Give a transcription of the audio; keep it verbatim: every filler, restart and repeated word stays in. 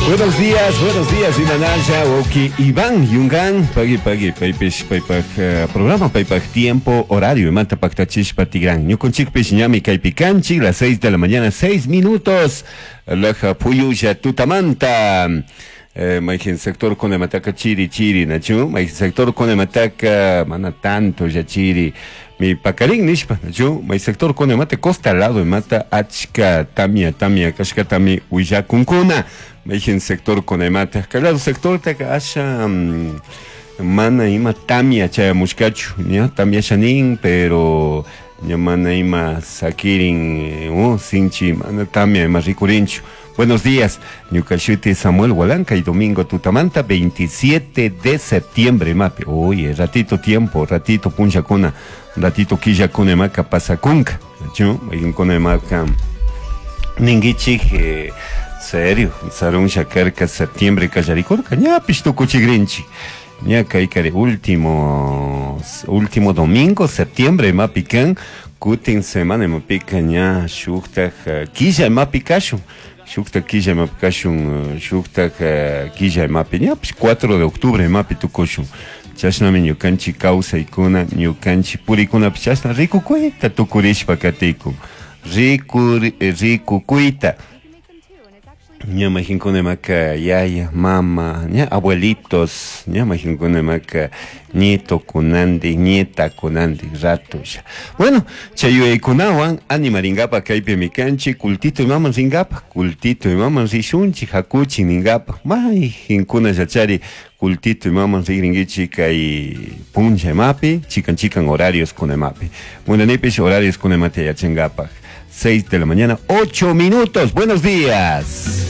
Buenos días, buenos días, Imanaya, Oki, Iván, Yungan, pagui, pagui, paypish, paypaj uh, programa, paypaj tiempo, horario, imanta paktachish patigran. Ñukunchikpish ñami kaypi kanchik, las seis de la mañana, seis minutos, laja puyulla tutamanta. Eh, mayqin sector kunamataka chiri chiri, nachu, mayqin sector kunamataka mana tanto ya chiri, mi pakarin nishpa, nachu, may sector kunamata costa lado mata achka tamia tamia kashkatami willakunkuna, mayqin sector kunamata, kalado sector taka asha mm, mana ima tamia chayamushkachu, ña tamia shanin, pero ña mana ima sakirin, uh, sinchi mana tamia ima rikurinchu. Buenos días, ñuka shuti Samuel Hualanca y domingo tutamanta veintisiete de septiembre, mapi. Oye, ratito tiempo, ratito punchakuna, ratito killakuna maka pasakunka. Chu, mayunkuna maka ninguichik, eh, serio, sarun shakarka septiembre kallarikurka, ñapish tukuchigrinchi. Ña kaykari último, último domingo septiembre mapikan, kutin semana mapika ña shuktaj killa mapikashun. Shukta killa mapikashun, shukta killa mapi, ñapish cuatro de octubre mapi tukushun. Chashnami ñukanchik kawsaykuna, ñukanchik purikunapish chashna rikukuyta tukurishpa katikun. Riku, rikukuyta. Ña majinkuna maka yaya, mama, ña abuelitos, ña majinkuna maka nieto kunandi, nieta kunandi, rato ya. Bueno, chayuyaykunawan animaringapa kaypi mikanchi, kultito imaman ringapa, kultito imaman rishunchi, hakuchi ningapa, mayjinkuna yachari, kultito imaman rigringichi kay puncha imapi, chikan chikan horarios kunemapi. Munanipish horarios kunemate yachangapaj. seis de la mañana, ocho minutos. Buenos días.